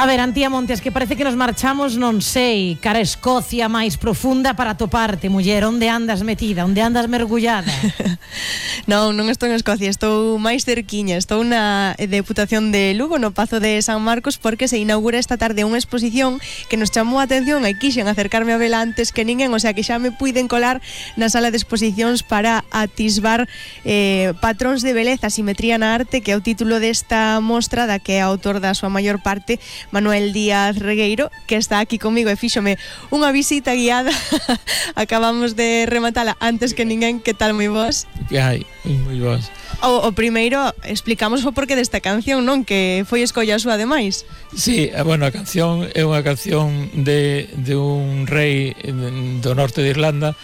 A ver, Antía Montes, que parece que nos marchamos, non sei, cara a Escocia máis profunda para toparte, muller. Onde andas metida? Onde andas mergullada? Non estou en Escocia, estou máis cerquiña. Estou na Deputación de Lugo, no Pazo de San Marcos, porque se inaugura esta tarde unha exposición que nos chamou a atención e quixen acercarme a vela antes que ninguén, o sea que xa me puiden colar na sala de exposicións para atisbar patróns de beleza, simetría na arte, que é o título desta mostra da que é autor da súa maior parte Manuel Díaz Regueiro, que está aquí comigo e fíxome unha visita guiada. Acabamos de rematala antes que ninguén. Que tal, moi vos? Que hai, moi vos. O primeiro, explicamos o porqué desta canción, non? Que foi escolla súa ademais. Sí, bueno, a canción é unha canción de un rei do norte de Irlanda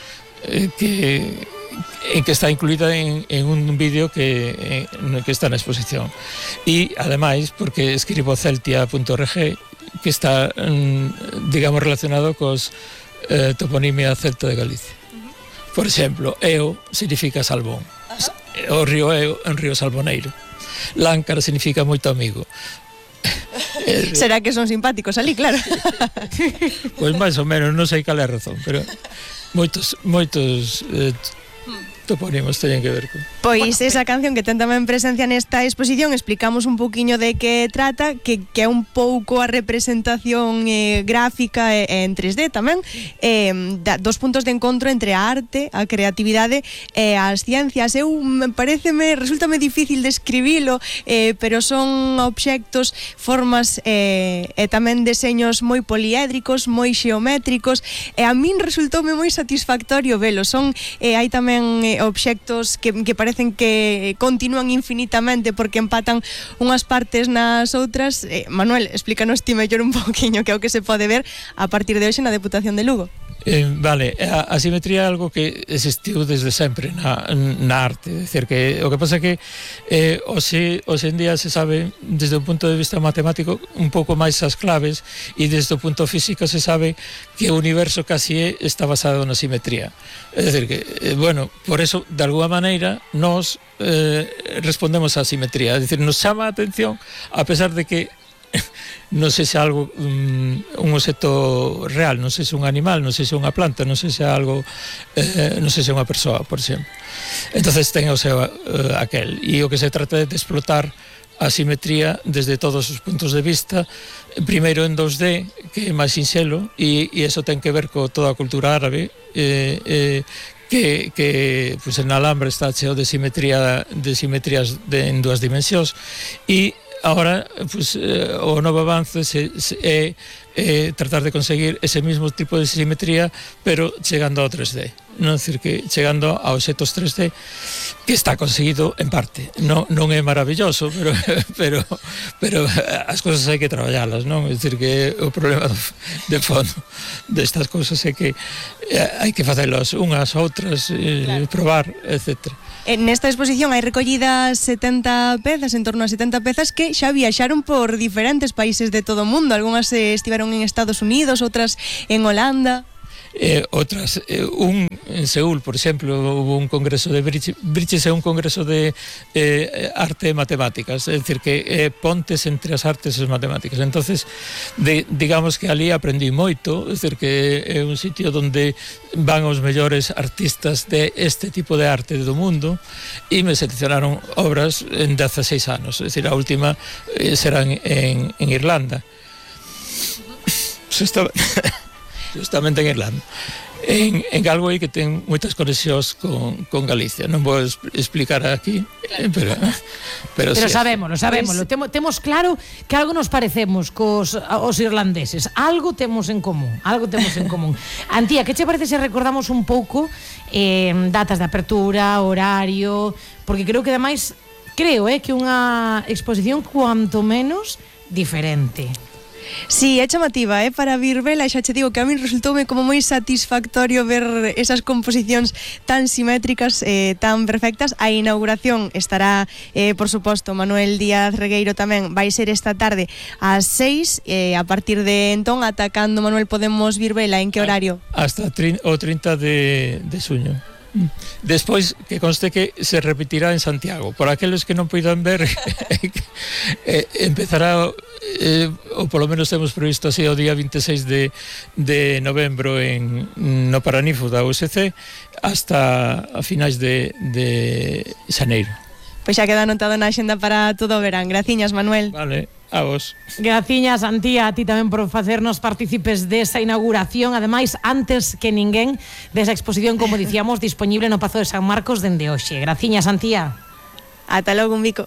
que está incluída en un vídeo que está na exposición. E, ademais, porque escribo celtia.org, que está, digamos, relacionado cos toponimia celta de Galicia. Por exemplo, Eo significa salvón. O río Eo é un río salvoneiro. Láncar significa moito amigo. Será que son simpáticos ali, claro. Pois máis ou menos, non sei cal é a razón, pero moitos topónimos teñen que ver con... Pois esa canción que ten tamén presencia nesta exposición, explicamos un pouquiño de que trata, que é un pouco a representación gráfica en 3D tamén, dos puntos de encontro entre a arte, a creatividade e as ciencias. Resultame difícil describilo, pero son obxectos, formas e tamén deseños moi poliédricos, moi xeométricos, e a min resultoume moi satisfactorio velo. Hai tamén obxectos que parecen que continúan infinitamente porque empatan unhas partes nas outras. Manuel, explícanos ti mellor un poquinho que é o que se pode ver a partir de hoxe na Deputación de Lugo. Vale, a simetría é algo que existiu desde sempre na arte, é dicir, que o que pasa é que hoxe en día se sabe desde un punto de vista matemático un pouco máis as claves, e desde o punto físico se sabe que o universo casi está basado na simetría. É dicir que, bueno, por eso de alguma maneira nos respondemos á simetría, é dicir, nos chama a atención a pesar de que non sei se algo un obxecto real, non sei se un animal, non sei se unha planta, non sei se algo non sei se unha persoa, por exemplo. Entonces ten o seu aquel, e o que se trata é de explotar a simetría desde todos os puntos de vista, primeiro en 2D, que é máis sinxelo, e iso ten que ver co toda a cultura árabe, que pues, en alambre está cheo de simetrías en dúas dimensións, e agora, pues, o novo avance é tratar de conseguir ese mismo tipo de simetría, pero chegando ao 3D. Non dicir que chegando a obxectos 3D, que está conseguido en parte. Non é maravilloso, pero as cousas hai que traballalas, non? É dicir que o problema de fondo destas cousas é que hai que facelas unhas, outras, claro, probar, etcétera. Nesta exposición hai recollidas 70 pezas, en torno a 70 pezas que xa viaxaron por diferentes países de todo o mundo. Algúnas estiveron en Estados Unidos, outras en Holanda. Outras, en Seúl, por exemplo, hubo un congreso de Briches, é un congreso de arte e matemáticas, é dicir, que pontes entre as artes e as matemáticas. Entonces, digamos que ali aprendí moito, é dicir, que é un sitio onde van os mellores artistas de este tipo de arte do mundo, e me seleccionaron obras en 16 anos, é dicir, a última será en Irlanda. Justamente en Irlanda, en Galway, que ten moitas conexións con Galicia. Non vou explicar aquí, pero sí, sabémolo. Temos claro que algo nos parecemos os irlandeses, algo temos en común. Antía, que che parece se recordamos un pouco datas de apertura, horario, porque creo que ademais que unha exposición cuanto menos diferente. Sí, é chamativa, para vir vela, xa che digo que a min resultoume como moi satisfactorio ver esas composicións tan simétricas, tan perfectas. A inauguración estará, por suposto, Manuel Díaz Regueiro tamén, vai ser esta tarde ás 6, a partir de entón, ata cando, Manuel, podemos vir vela, en que horario? Hasta o 30 de xuño. Despois, que conste que se repetirá en Santiago. Por aqueles que non poidan ver, empezará ou polo menos temos previsto así o día 26 de novembro no Paraninfo da USC hasta a finais de xaneiro. Pois xa queda anotado na axenda para todo o verán. Graciñas, Manuel. Vale, a vos. Graciñas, Antía, a ti tamén por facernos partícipes desa inauguración, ademais, antes que ninguén desa exposición, como dicíamos, disponible no Pazo de San Marcos dende hoxe. Graciñas, Antía. Ata logo, un bico.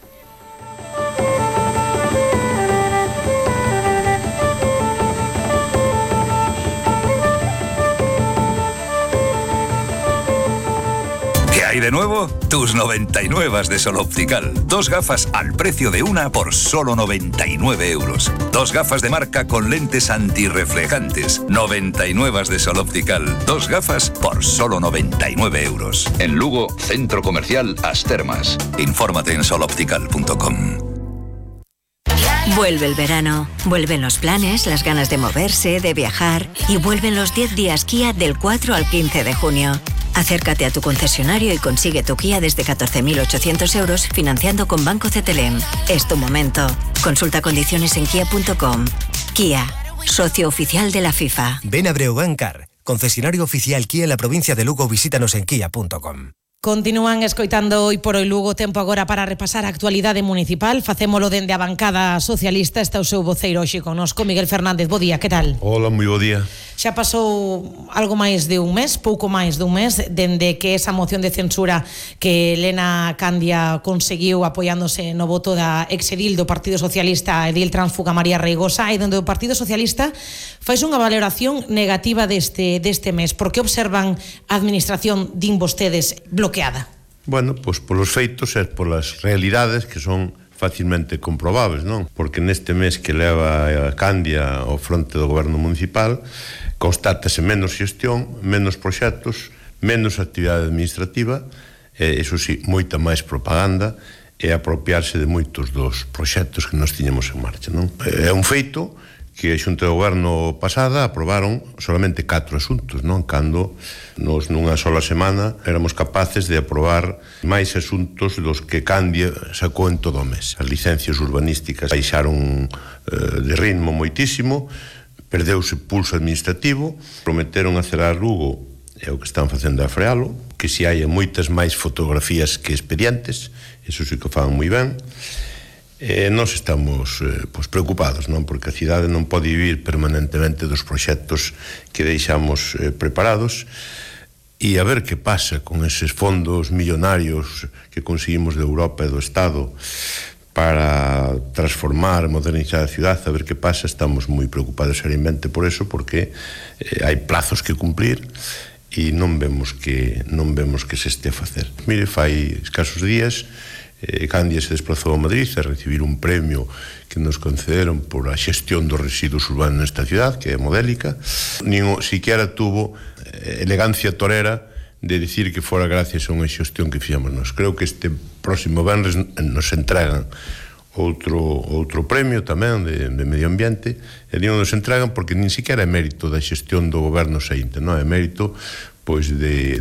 ¿Y de nuevo? Tus 99 de Sol Optical. 2 gafas al precio de una por solo 99 euros. 2 gafas de marca con lentes antirreflejantes. 99 de Sol Optical. 2 gafas por solo 99 euros. En Lugo, Centro Comercial As Termas. Infórmate en soloptical.com. Vuelve el verano, vuelven los planes, las ganas de moverse, de viajar y vuelven los 10 días Kia del 4 al 15 de junio. Acércate a tu concesionario y consigue tu Kia desde 14.800 euros financiando con Banco CTLM. Es tu momento. Consulta condiciones en kia.com. Kia, socio oficial de la FIFA. Ven a Breogán Car, concesionario oficial Kia en la provincia de Lugo. Visítanos en kia.com. Continúan escoitando Hoy por Hoy Lugo. Tempo agora para repasar a actualidade municipal. Facémolo dende a bancada socialista. Está o seu voceiro hoxe connosco, Miguel Fernández. Bo día, que tal? Hola, moi bo día. Xa pasou algo máis de un mes, pouco máis de un mes, dende que esa moción de censura que Elena Candia conseguiu apoiándose no voto da exedil do Partido Socialista, edil transfuga María Reigosa, e donde o Partido Socialista fais unha valoración negativa deste mes. Por que observan a administración, din vostedes, bloqueada? Bueno, pois polos feitos e polas realidades que son facilmente comprobables, non? Porque neste mes que leva a Candia ao fronte do goberno municipal constátase menos xestión, menos proxectos, menos actividade administrativa e, iso sí, moita máis propaganda e apropiarse de moitos dos proxectos que nos tiñamos en marcha, non? É un feito que a Xunta de Goberno pasada aprobaron solamente 4 asuntos, non? Cando nos nunha sola semana éramos capaces de aprobar máis asuntos dos que Candia sacou en todo o mes. As licencias urbanísticas baixaron de ritmo moitísimo, perdeuse pulso administrativo, prometeron acelerar Lugo, é o que están facendo a frealo, que se hai moitas máis fotografías que expedientes, iso sí que fan moi ben. Nós estamos preocupados, non? Porque a cidade non pode vivir permanentemente dos proxectos que deixamos preparados e a ver que pasa con eses fondos millonarios que conseguimos de Europa e do Estado para transformar, modernizar a cidade, a ver que pasa. Estamos moi preocupados seriamente por eso, porque hai plazos que cumplir e non vemos que se este a facer. Mire, fai escasos días Candia se desplazou a Madrid a recibir un premio que nos concederon por a xestión dos residuos urbanos nesta cidade, que é modélica. Nin siquiera tuvo elegancia torera de dicir que fora gracias a unha xestión que fixamos nós. Creo que este próximo venres nos entregan outro premio tamén de medio ambiente, e non nos entregan porque nin siquiera é mérito da xestión do goberno saínte, non é mérito pois de